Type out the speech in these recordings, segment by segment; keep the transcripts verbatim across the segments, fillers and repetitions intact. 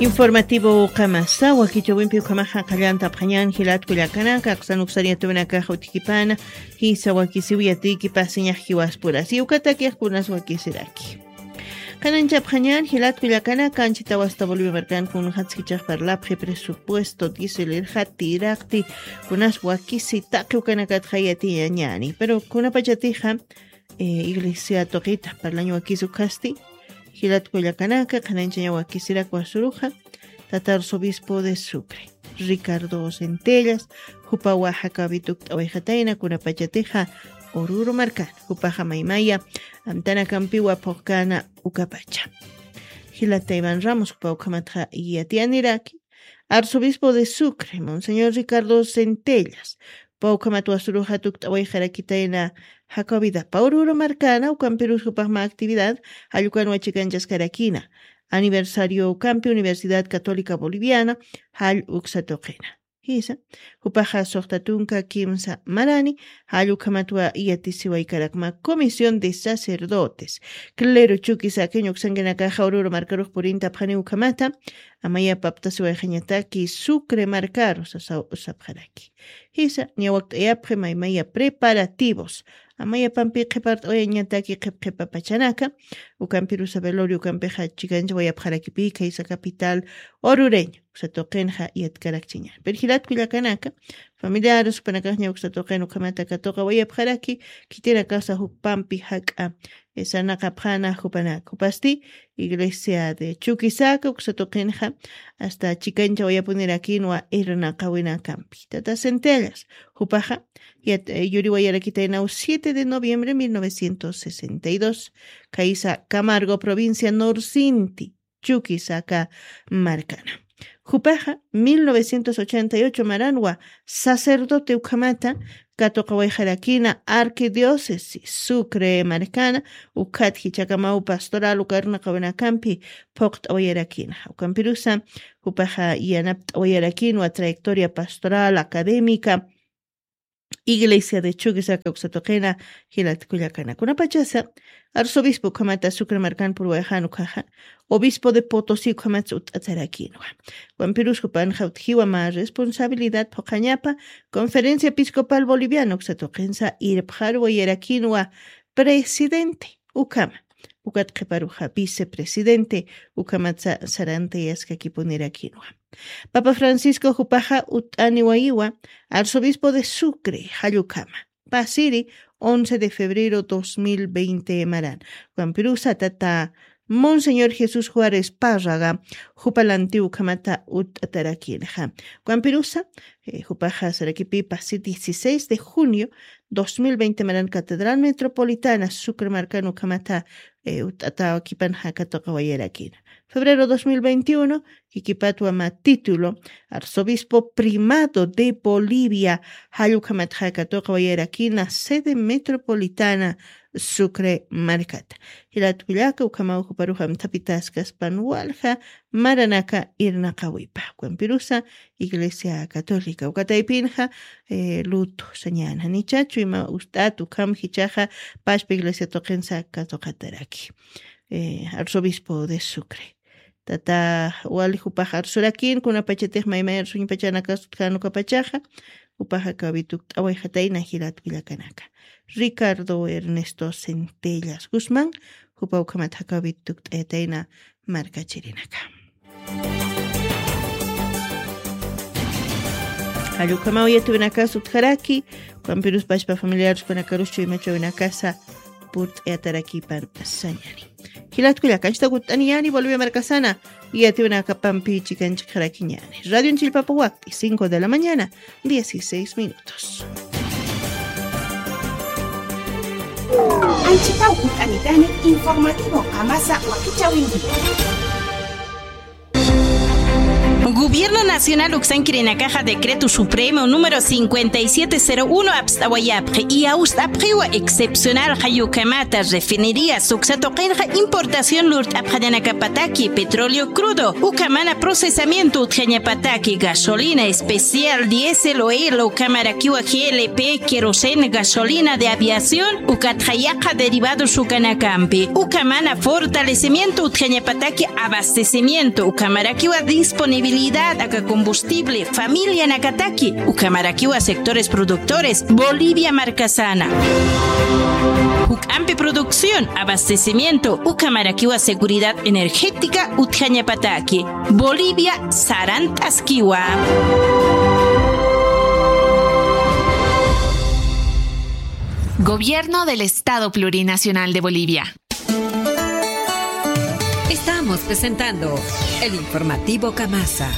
Informativo ukamasa, wakichawimpi ukamaxa qallantapxañan jilat kullakanaka, aksan uksar yatawinakaxa utjkipana, jisa wakisiw yatiki pasiñax jiwaspurasi, ukatakix kunas wakisiraki. Qananchapxañan jilat kullakanaka, anchita wasta Bolivia markan kunxatskichax parlapxi presupuesto, diésel irxati, iraqti, kunas wakisi taqi ukanakatxa yatiñañani, pero kunapachatixa, eh, iglesia tuqita parlañ wakis ukhasti, jilat kullakanaka, qhananchaña wakisirak wasuruxa, tata arzobispo de Sucre, Ricardo Centellas, jupawa jakawi tukt'awayxatayna kunapachatixa Oruro markan, jupaxa maymaya, amtanakampiwa phuqkana ukapacha. Jilata Iván Ramos, jupa ukhamatxa yatiyaniraki, arzobispo de Sucre, Monseñor Ricardo Centellas, pawkhamat wasuruxa tukt'awayxarakitayna jakawidapa Oruro markana, ukampirus jupaxma actividad, jallkukan wachikanchaskarakina, aniversario ukampi Universidad Católica Boliviana, jall uksa tuqina. Jisa, jupaxa suxta tunka kimsa marani, jall ukhamatwa yatisiwaykarakma Comisión de Sacerdotes, clero chuki sakiñ uksankinakaxa Oruro markarux purintapxani ukhamata, amaya paptasiwayxañataki Sucre markaru sasaw sapxaraki. Jisa, ñawakt'ayapxi maymaya preparativos. Amaya pampi qhipart'awayañataki qhipqhipa pachanaka. Ukampirusa velorio ukampixa chikanchawayapxarakipi, khaysa capital orureño. Uksa tuqinxa yatkarakchiña. Pero jilat kullakanaka, familiares jupanakaxña uksa tuqin ukhamata katuqawayapxaraki, khitinakasa jupampi jak'a, eh, sarnaqapxana jupanaka. Jupasti, Iglesia de Chuquisaca, uksa tuqinxa, hasta chikanchawayapunirakïnwa irnaqawinakampi. Tata Centellas, jupaxa, yat-, eh, yuriwayarakitaynaw siete de noviembre mil novecientos sesenta y dos, khaysa Camargo, provincia Norsinti, Chuquisaca markana. Jupaxa, mil novecientos ochenta y ocho maranwa, sacerdote ukhamata, katuqawayxarakina arquidiócesis Sucre markana, ukhat jichhakamaw pastoral uka irnaqawinakampi phuqt'awayarakina. Ukampirusa, jupaxa yanapt'awayarakinwa trayectoria pastoral, académica, Iglesia de Chuquisaca uksa tuqina, jilat kullakanaka. Kunapachasa, arzobispo ukhamata Sucre markan purwayxan ukhaxa, obispo de Potosí ukhamatsa utt'atharakinwa. Ukampirus jupanxa utjiwa mä responsabilidad phuqhañapa, Conferencia Episcopal Boliviana uksa tuqinsa irpxarwayarakinwa presidente ukhama. Ukat qhiparuxa vicepresidente ukhamatsa sarantayaskakipunirakinwa. Papa Francisco jupaxa utt'aniwayiwa arzobispo de Sucre jall ukhama. Pasiri once de febrero dos mil veinte maran. Ukampirusa tata Monseñor Jesús Juárez Párraga, jupa lantiw ukhamata utt'atarakïnxa. Ukampirusa, eh, jupaxa sarakipi pasi dieciséis de junio dos mil veinte maran Catedral Metropolitana Sucre markan ukhamata, eh, utt'atawakipanxa katuqawayarakïna. Febrero dos mil veintiuno, jikipatwa mä título, Arzobispo Primado de Bolivia, jall ukhamatxa katuqawayarakïna sede metropolitana Sucre markata. Jilat kullaka, ukhamaw juparux amthapitäskaspan walja maranaka irnaqawipa. Ukampirusa Iglesia Católica uka taypinxa, eh, luto sañäna, janicha chuyma utt'at ukham jichhaxa pachpa iglesia tuqinsa katuqataraki. Eh, arzobispo de Sucre. Tata wali jupax arsurakïn, kunapachatix maymay arsuñpachanakas utjän ukapachaxa, jupaxa kawitukt'awayxatayna jilat kullakanaka. Ricardo Ernesto Centellas Guzmán, jupa ukhamat jakawitukt'ayatayna markachirinaka. Jall ukhamaw yatïwinakas utjaraki, ukampirus pachpa familiares ukanakarus chuyma chawinakasa purt'ayatarakipan sañäni. Jilat kullaka, anchita utt'aniyäni Bolivia markasana, yatïwinakapampi chikanchikxarakiñäni. Radio Chillpapa wakti, cinco de la mañana, dieciséis minutos. Anchita utt'anitani informativo amasa wakichawinki. Gobierno Nacional uksankirinakaxa Decreto Supremo número cincuenta y siete cero uno apst'awayapxi, y awst'apxiwa excepcional jayukamata refinerías uksa tuqinxa importación lurt'apxañanakapataki petróleo crudo, ukamana procesamiento utjañapataki gasolina especial, diésel, oil, ukamarakiwa G L P, queroseno, gasolina de aviación, ukatxa yaqha derivados ukanakampi, ukamana fortalecimiento utjañapataki abastecimiento, ukamarakiwa disponibilidad aka combustible, familianakataki, ukamarakiwa sectores productores, Bolivia markasana. Juk'ampi producción, abastecimiento, ukamarakiwa seguridad energética utjañapataki. Bolivia sarant'askiwa. Gobierno del Estado Plurinacional de Bolivia. Estamos presentando el informativo Camasa.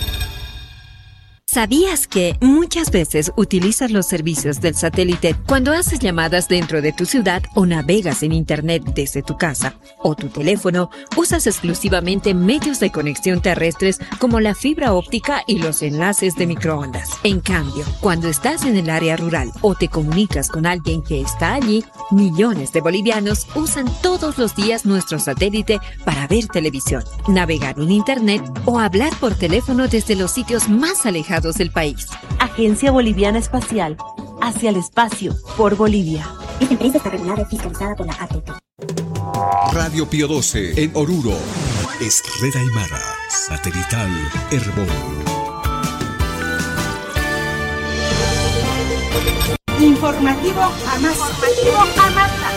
¿Sabías que muchas veces utilizas los servicios del satélite cuando haces llamadas dentro de tu ciudad o navegas en Internet desde tu casa o tu teléfono? Usas exclusivamente medios de conexión terrestres como la fibra óptica y los enlaces de microondas. En cambio, cuando estás en el área rural o te comunicas con alguien que está allí, millones de bolivianos usan todos los días nuestro satélite para ver televisión, navegar en Internet o hablar por teléfono desde los sitios más alejados del país. Agencia Boliviana Espacial, hacia el espacio, por Bolivia. Esta empresa está regulada y fiscalizada por la A T T. Radio Pío doce en Oruro. Es red aymara, satelital Erbol. Informativo Amasa. Informativo Amasa.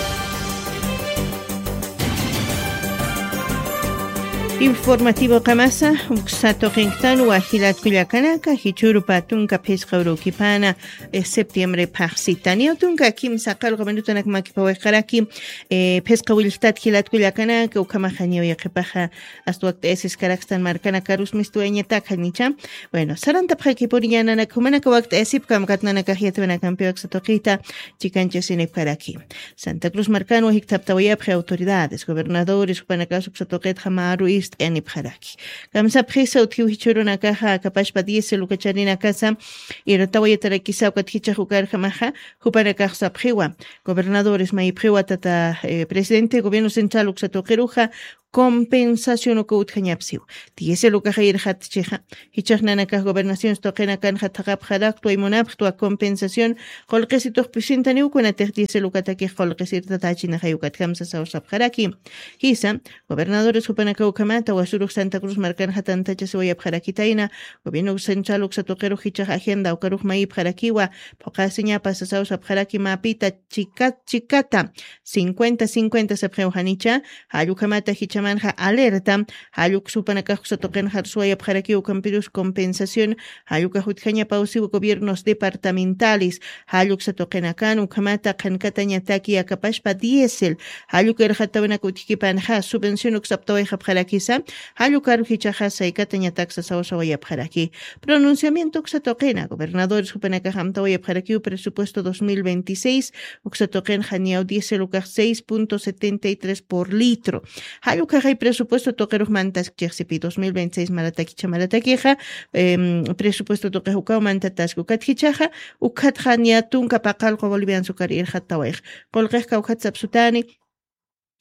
Informativo Qamasa, uksa tuqinktaniwa jilat kullakanaka, jichhürupa tunka phisqa urukipana, eh, septiembre phaxsitani, tunka kimsa qallqu minutunak makipawiqaraki, eh, phisqa willktat jilat kullakanaka, ukhamaxa ñawi qipaxa, asta wakt'ayasiskarakstan markanakarus mistuwayañatak janicha. Bueno, sarantapxakipuniña nanaka, jumanaka wakt'ayasipkam kat nanakax yatwinakampiwa uksa tuqita chikanchasinipkaraki. Santa Cruz markanwa jikthaptawayapxi autoridades, gobernadores, jupanakas uksa tuqitxa maru ist'ayanipxaraki. Kamsapxisa utjiw jichhürunakaxa, akapashpa diésel ukacharinakasa, irtawayatarakisa ukat jichhax ukarjamaxa, jupanakax sapxiwa. Gobernadores mayipxiwa tata, eh, presidente gobierno central uksa tuqiruxa, compensación uka utjañapsiwa. Diésel ukaxa irxatchixa. Jichhax nanakax gobernaciones tuqinakanxa thaqhapxaraktwa, munapxtwa compensación, qullqisituxpisintaniw kunatix diésel ukatakix qullqisirtatachinaxay ukat kamsasaw sapxaraki. Jisa, gobernadores jupanakaw ukhamata, wasurux Santa Cruz markanxa tantachasiwayapxarakitayna, gobierno central uksa tuqirux jichhax agenda ukarux mayipxarakiwa, phuqasiñapa sasaw sapxaraki mapita chikat chikata, cincuenta cincuenta sapxiw janicha, jall ukhamata jichhamanxa alerta, jall uksa jupanakax uksa tuqinxa arsuwayapxarakiw ukampirus compensación, jall ukax utjañapawsiw gobiernos departamentales, jall uksa tuqinakan ukhamata qhankatañataki akapashpa diésel, jall uka irxatawinak utjkipanxa subvención uksaptawayxapxarakisa, jall ukaru jichhaxa saykatañatak sasawasawayapxaraki. Pronunciamiento uksa tuqina, gobernadores jupanakax amtawayapxarakiw presupuesto dos mil veintiséis, uksa tuqinxa niyaw diésel ukax seis punto setenta y tres por litro. Jall ukaxay presupuesto tuqirux mantaskchixsipi dos mil veintiséis maratakicha maratakixa, em, presupuesto tuqix ukaw mantataski ukat jichhaxa, ukatxa niya tunka paqallqu bolivianos ukar irxatawayx. Qullqix kawkhat sapsutani,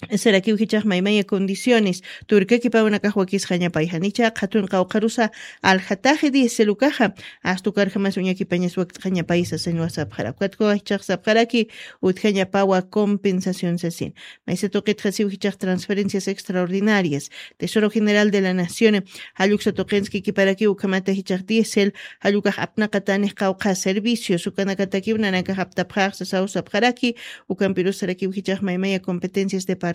sarakiw jichhax maymaya condiciones, turkakipawnakax wakisxañapay janicha, qhatun qawqharusa aljataxi diésel ukaxa, asta ukarjamas uñakipañas wakt'xañapay sasin wasapxara. Ukatkuwa jichhax sapxaraki, utjañapawa compensación sasin. Maysa tuqitxa siw jichhax transferencias extraordinarias, Tesoro General de la Nación, jall uksa tuqinskikiparakiw ukhamata jichhax diésel, jall ukax apnaqatanix qawqha servicios, ukanakatakiw nanakax aptapxax sasaw sapxaraki, ukampirus sarakiw jichhax maymaya competencias departamentales.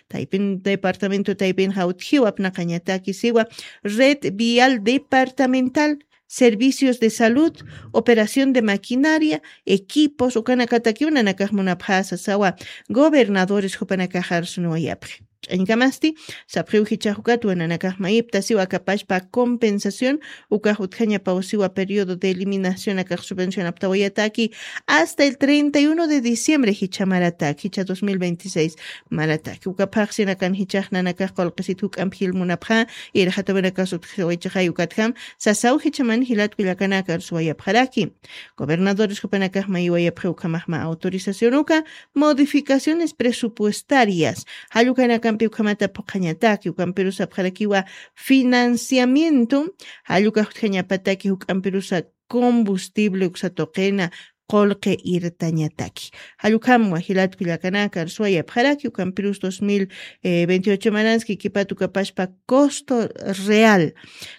Taypin, departamento taypinxa utjiw apnaqañataki siwa, red vial departamental, servicios de salud, operación de maquinaria, equipos, ukanakatakiw nanakax munapxä sasawa, gobernadores jupanakax arsunuwayapxi. ch'añkamasti, sapxiw jichhax ukat wananakax mayiptasiw akapashpa compensación, ukax utjañapaw siwa periodo de eliminación akax subvencionaptawayataki hasta el treinta y uno de diciembre jichha maratak, jichha dos mil veintiséis maratak. Uka phaxsinakan jichhax nanakax qullqisit juk'amp jilmunapxa, irxatawinakas utjawaychaxay ukatjam, sasaw jichhaman jilat kullakanaka arsuwayapxaraki. Gobernadores jupanakax mayiwayapxi ukhamaxma autorización uka, modificaciones presupuestarias. Jallukanakampi ukhamata phuqhañataki, ukampirusapxarakiwa financiamiento, jalluka jutjañapataki juk'ampirusa combustible uksa tuqina qullqi irtañataki. Jallukhamwa jilat kullakanaka arsuwayapxaraki ukampirus dos mil veintiocho maranski kipatu kapashpa costo real.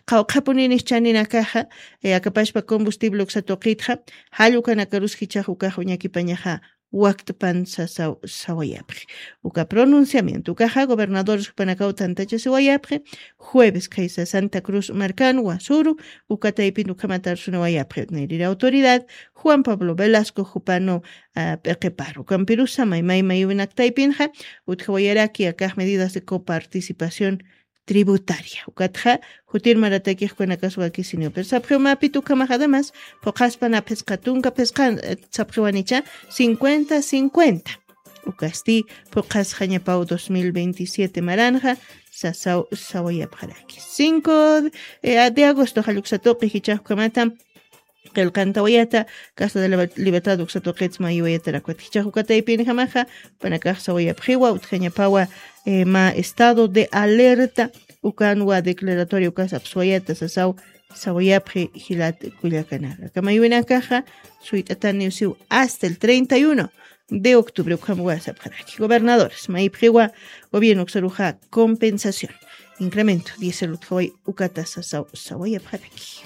Qawqhapuninish chaninakaxa, eh, akapashpa combustible uksa tuqitxa, jallukanakarus jichhax ukax uñakipañaxa wakt'pan sasaw sawayapxi. Uka pronunciamiento ukaxa gobernadores jupanakaw tantachasiwayapxi, jueves khaysa Santa Cruz markan wasuru, uka taypin ukhamat arsunawayapxi, nirira autoridad Juan Pablo Velasco jupanu, ah, p'iqiparu. Ukampirusa maymay mayuwinak taypinxa, utjawayaraki akax medidas de coparticipación tributaria. Ukatxa, jutir maratakix kunakas wakisiniw. Pero sapxiw mapit ukhamax además, phuqhaspan aphisqa tunka phisqan, eh, sapxiwanicha cincuenta cincuenta. Ukasti, phuqhasxañapaw dos mil veintisiete maranxa, sasaw sawayapxaraki. Cinco, eh, de agosto, jalluksa tuqi jichhax ukhamata, qillqantawayata, Casa de la Libertad uksa tuqit mayiwayatarakwat. Jichhax uka taypinjamaxa, panakax sawayapxiwa, utjañapawa, eh, ma estado de alerta, ukanwa declaratoria ukas apsuwayata, sasaw, sawayapxi jilat kullakanaka. Aka mayiwinakaxa, suyt'ataniw siw hasta el treinta y uno de octubre, ukhamwa sapxaraki. Gobernadores, mayipxiwa, gobierno uksaruxa compensación. Incremento, diésel utjaway ukata sasaw sawayapxaraki.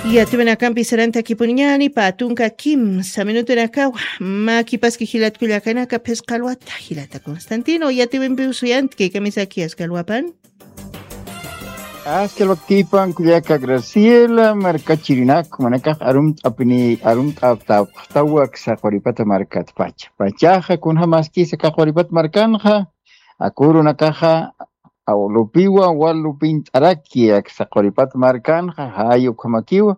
Yatiwinakampi sarantakipuniñani, pä tunka kimsa minutunakawa, mä kipaski jilat kullakanaka phisqa alwata, jilata Constantino, yatiwimpiw suyantki, kamisaki aska alwapan. Aska alwaktipan kullaka Graciela, markachirinak, manakax arumt'apini, arumt'aptapxtawa aksa Quripata markatpacha. Pachaxa kunjamaskisa aka Quripata markanxa, akurunakaxa, aw lupiwa, wal lupint'araki aksa Quripata markanxa, jay ukhamakiwa,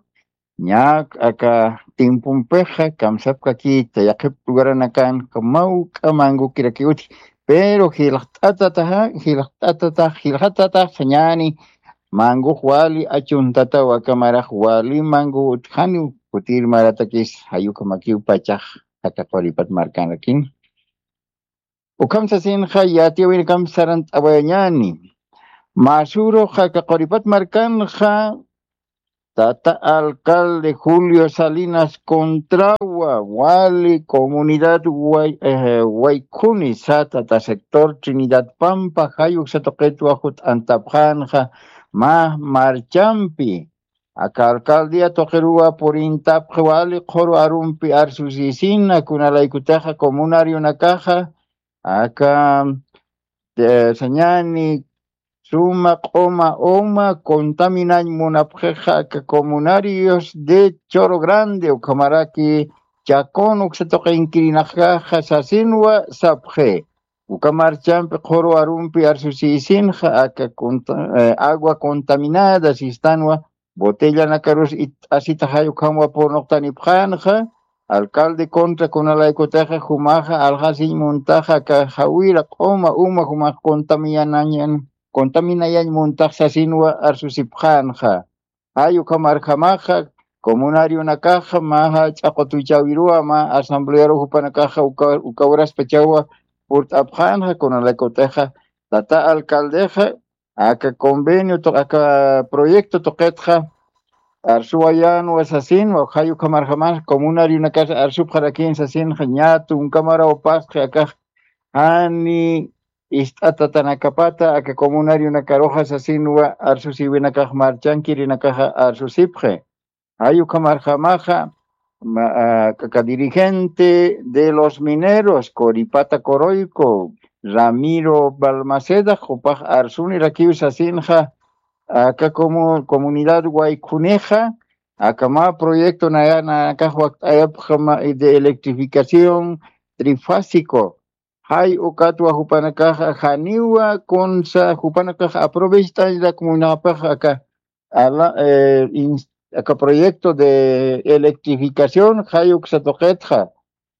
ña aka timpumpixa, kamsapkakita, yaqhip lugaranakanxa, mawk'a mangukirakiw utji, pero jilxt'atataxa, jilxt'atatax, jilxatatax sañani, mangux wali achuntataw aka marax wali mangu utjaniw, kutir maratakis, jay ukhamakiw pachax, aka Quripat markanrakin. Ukham sasinxa yatiyäwinakam sarant'awayañäni. Mä sürux aka Quripat markanxa, tata alcalde Julio Salinas Contrawa, wali comunidad Way-, eh, Waykhuni, sa tata sector Trinidad Pampa, jay uksa tuqitwa jut'antapxänxa, mä marchampi. Aka alcaldía tuqiruwa purintapxi wali qhuru arumpi arsusisina, kunalaykutixa comunarionakaxa, aka, eh, sañani suma q'uma uma contaminañ munapxixa aka comunarios de Choro Grande, ukhamaraki Chacón uksa tuqinkirinakaxa sasinwa sapxi. Uka marchampi qhuru arumpi arsusisinxa aka conta-, eh, agua contaminada sistanwa, botellanakarus it'asitaxay ukhamwa purnuqtanipxänxa, alcalde contra kunalaykutixa jumaxa alxasiñ muntaxa aka jawira q'uma uma jumax contaminayañ, contaminayañ muntax sasinwa arsusipxänxa. Jay ukhamarjamaxa, comunarionakaxa, mä jach'a qutuchawiruwa, mä asamblearu jupanakaxa uka, uka uraspachawa purt'apxänxa, kunalaykutixa, tata alcaldexa, aka convenio tuq-, aka proyecto tuqitxa, arsuwayänwa sasinwa, jay ukhamarjamaxa, comunarionakas arsupxarakïn sasinxa, ñä tunka maraw pasxi akax, jani ist'atatanakapata, aka comunarionakaruxa sasinwa, arsusiwinakax marchankirinakaxa arsusipxi. Jay ukhamarjamaxa, ma-, a, aka dirigente de los mineros, Coripata Coroico, Ramiro Balmaceda, jupax arsunirakiw sasinxa, aka comu-, comunidad Waykhunixa, aka mä proyecto naya-, nanakax wakt'ayapxi mä de electrificación trifásico, Jay ukatwa jupanakaxa janiwa kunsa jupanakax aprovecht'añrak munapix aka ala, eh, ins- aka proyecto de electrificación jay uksa tuqitxa.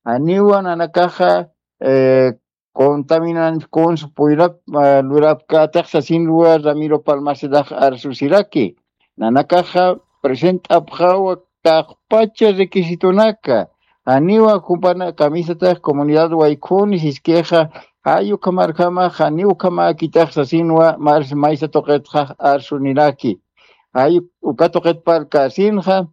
Janiwa nanakaxa, eh, contaminan kunsa puyrap, eh, lurapkätix sasinwa Ramiro Palmacedax arsusiraki. Nanakaxa present'apxawa taqpacha requisitonaka. Janiwa jupana kamisatix comunidad waykhuni siskixa, jay ukhamarjama, janiw ukhamäkitix sasinwa, mars maysa tuqitxa arsuniraki. Jay uka tuqit parlkäsinxa,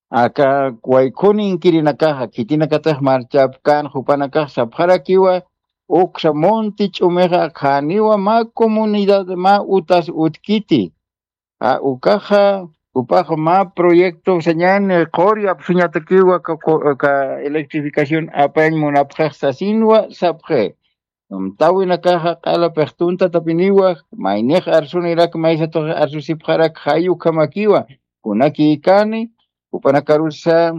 aka waykhuni inkirinakaxa, khitinakatix marchapkän jupanakax sapxarakiwa, uksa monte ch'umixa janiwa mä comunidad mä utas utkiti. A, ukaxa, jupax mä proyecto sañäni qhur yapsuñatakiwa ka, ka, ka electrificación apañ munapxix sasinwa sapxi. Amtäwinakaxa q'ala pixtuntatapiniwa, maynix arsunirak maysatux arsusipxarak jay ukhamakiwa, kunakïkani, jupanakarusa,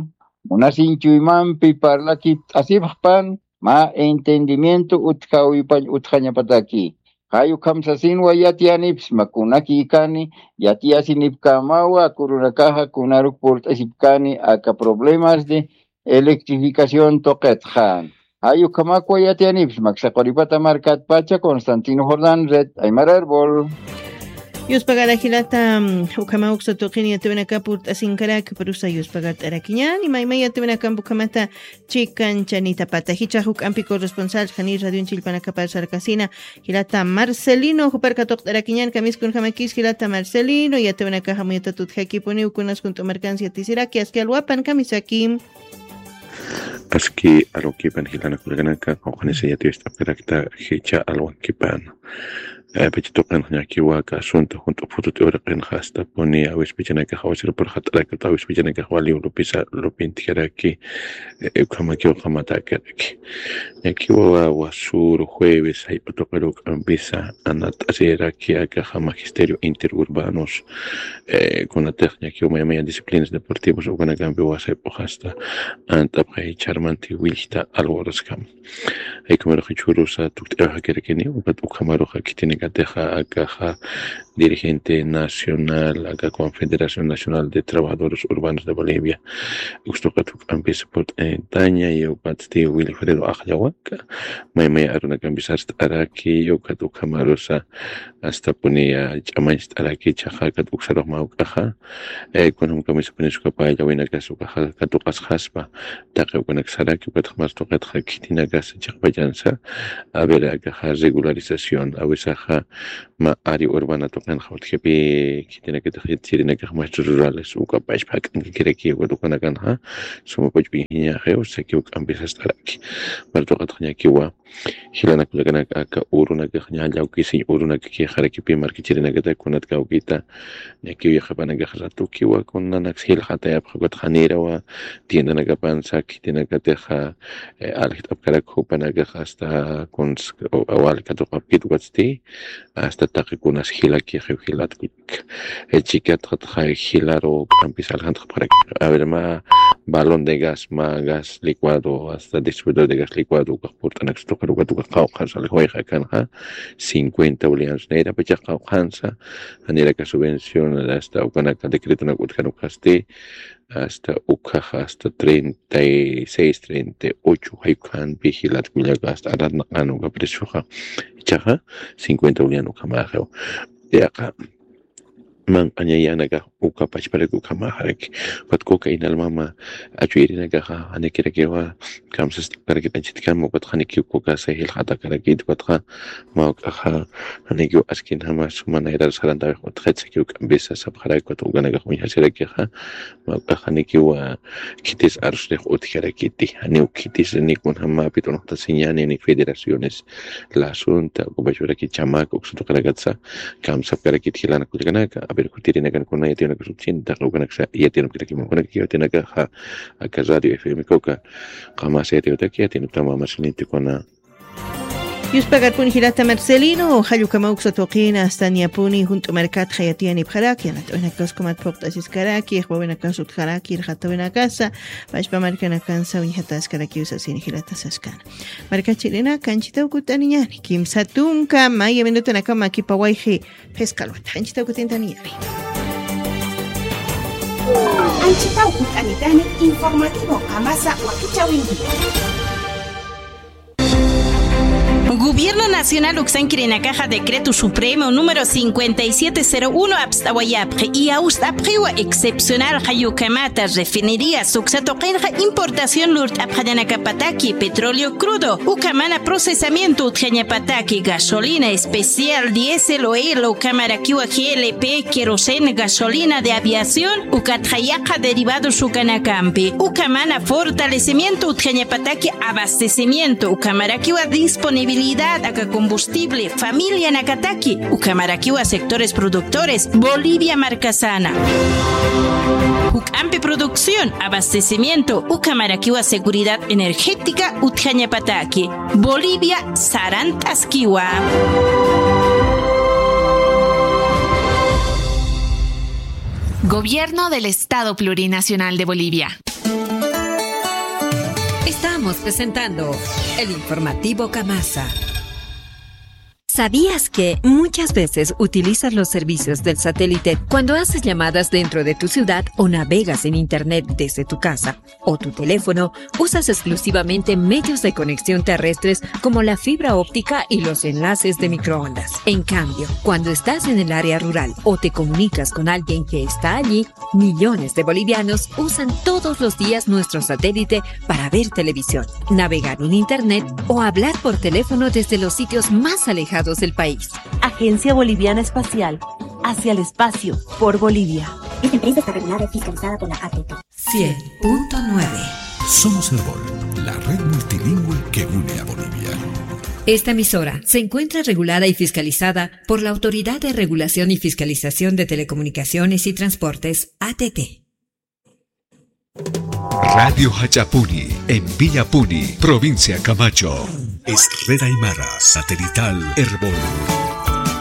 munasiñ chuymampi parlakipt'asipxpan, mä entendimiento utjawipañ utjañapataki. Jay ukham sasinwa yatiyanipsma kunakïkani, yatiyasinipkämawa, kurunakaxa kunaruk purt'asipkäni aka problemas de electrificación tuqitxa. Jay ukhamakwa yatiyanipsma, aksa Quripata markatpacha Constantino Jordán, Red Aymara Erbol. Yuspagara jilata, mm, ukhama uksa tuqin yatiwinaka purt'asinkarak, prusa yuspagart'arakiñäni, maymay yatiwinakamp ukhamata chikan chanitapata. Jichhax juk'ampi corresponsal, jani radion chillpanakapar sarkasina, jilata Marcelino, jupar katuqt'arakiñän, kamiskunjamakis, jilata Marcelino, yatiwinakax amuyatät utjakipuniw, kunas junt'u markans yatisiraki, aski alwapan, kamisaki. Aski alwakipan jilanaka kullakanaka, qawqhanisa yatiyast'apkarakta, jichha alwakipan. Eh, pacha tuqinxa ñakiwa aka asunto junt'u phutut uraqinxa astapuni awispachanakax awasirpurxat'arakta, awispachanakax waliw lupisa lupintjaraki, eh, ukhamakiw qamatäkaraki. Ñakiwa wasür jueves jayp'u tuqir juk'ampisa anat'asiraki akaxa magisterio interurbanos, eh, kunatix ñakiw mayamaya disciplinas deportivas ukanakampi wasayp'uxasta ant'apxay charmanti willkta alwaraskam. Jaykumaruxa jichhürusa tukt'ayaw jakirakini, ukat ukhamarux khitinakatixa akaxa dirigente nacional, aka Confederación Nacional de Trabajadores Urbanos de Bolivia, ukstuqat juk'ampis purt'anitaña, y ukatsti Wilfredo Ajllawaka, maymay arunakampis arst'araki, y ukat ukhamarusa astapuni, ah, ch'amañcht'araki, jichhaxa ukat uksarux mä juk'axa, eh, kunjam kamisapuni sukapayllawinakas ukaxa katuqasxaspa, taqi ukanak saraki, ukatxa mars tuqitxa khitinakas chiqpachansa, a ver, akaxa regularización, awisaxa mä área urbana tuqinxa utjapi, khitinakatix yatchirinakax maestros rurales, uka pachpa jak'ankakiraki, ukat ukanakanxa, suma pachpa ingeniería, o sea, que ukampis arst'araki. Mars tuqitxa ñakiwa, jilanaka kullakanaka aka urunakax ña llawkisiñ urunakakixarakipi markachirinakata kunat kawkita, ñakiw yaqhipanakax ratukiwa kunanaks jilxatayapxa ukat janirawa tiendanakapansa khitinakatixa, eh, aljt'apkarak jupanakax hasta kuns, o, awal katuqapkit ukatsti, hasta taqi kunas jilakixiw jilat kullak. Eh, chikatxatxa jilaru k'ampis aljantxapxarak. A ver, mä balón de gas, mä gas licuado, hasta distribuidor de gas licuado, ukax purt'anaksa tuqir ukat ukax qawqhansa aljawayxa akanxa, cincuenta bolivianos. Nayrapachax qawqhansa, janiraka subvención, hasta ukanaka decretonak utjan ukasti, hasta ukhaxa, hasta treinta y seis, treinta y ocho, jayp'u janpi jilat kullaka, hasta arat naqan uka precioxa, jichhaxa, cincuenta bolivianos ukhamaxiw. Yaqa, manq'añayanaka uka pachparak ukhamaxaraki. Ukat coca inalmama, achuyrinakaxa, janikirakiwa, kamsast'apkarakit anchitkama, ukat janikiw coca sajil jatakarakit, ukatxa, mä juk'axa, janikiw askinjama, suma nayrar sarantawix utjat sakiw k'ampisa sapxarak, ukat ukanakax uñjasirakixa, mä juk'ax janikiwa, khitis arsrix utjarakiti, janiw khitis ni kunjamapit unuqtasiñäni, ni federaciones, la asunta, uka pachparakit chamak, uksa tuqirakatsa, kamsapkarakit jilanaka kullakanaka, a ver, jutirinakan kuna yatiyunakas utjchin, taqi ukanaksa, yatiyunakirakiman, ukanaka yatiyunakaxa, aka radio F M coca, qamasa yatiyutaki, yatiyunakama marsilinti kuna. Yuspagarpuni jilata Marcelino, jallukama uksa tuqina, astaniapuni, junt'u markat jayatiyanipxaraki, yanat'awinakas kumat phuqt'asiskaraki, jbawinakas utjaraki, irxatawinakasa, pachpa markanakansa uñjataskaraki usasini jilata saskana. Markachirinaka, anchitaw kut'aniñani, kimsa tunka, maya minutanakama kipawayji, phisqalwata, anchitaw kut'intaniyari. Anchitaw kut'anitani, informativo kamasa wakichawinki. Gobierno Nacional uksankirinakaxa Decreto Supremo número cincuenta y siete cero uno apst'awayapxi, y awst'apxiwa excepcional jayukamata refinerías uksa tuqinxa importación lurt'apxañanakapataki petróleo crudo, ukamana procesamiento utjañapataki gasolina especial, diésel, oil, ukamarakiwa G L P, queroseno, gasolina de aviación, ukatxa yaqha derivados ukanakampi, ukamana fortalecimiento utjañapataki abastecimiento, ukamarakiwa disponibilidad aka combustible familianakataki, ukamarakiwa sectores productores, Bolivia markasana. Juk'ampi producción, abastecimiento, ukamarakiwa seguridad energética utjañapataki. Bolivia sarant'askiwa. Gobierno del Estado Plurinacional de Bolivia. Estamos presentando el informativo Kamasa. ¿Sabías que muchas veces utilizas los servicios del satélite cuando haces llamadas dentro de tu ciudad o navegas en internet desde tu casa o tu teléfono? Usas exclusivamente medios de conexión terrestres como la fibra óptica y los enlaces de microondas. En cambio, cuando estás en el área rural o te comunicas con alguien que está allí, millones de bolivianos usan todos los días nuestro satélite para ver televisión, navegar en internet o hablar por teléfono desde los sitios más alejados del país. Agencia Boliviana Espacial, hacia el espacio, por Bolivia. Esta empresa está regulada y fiscalizada por la A T T. Cien punto nueve. Somos Erbol, la red multilingüe que une a Bolivia. Esta emisora se encuentra regulada y fiscalizada por la Autoridad de Regulación y Fiscalización de Telecomunicaciones y Transportes, A T T. Radio Jach'apuni, en Villapuni, provincia Camacho. Es Red Aymara, satelital Erbol.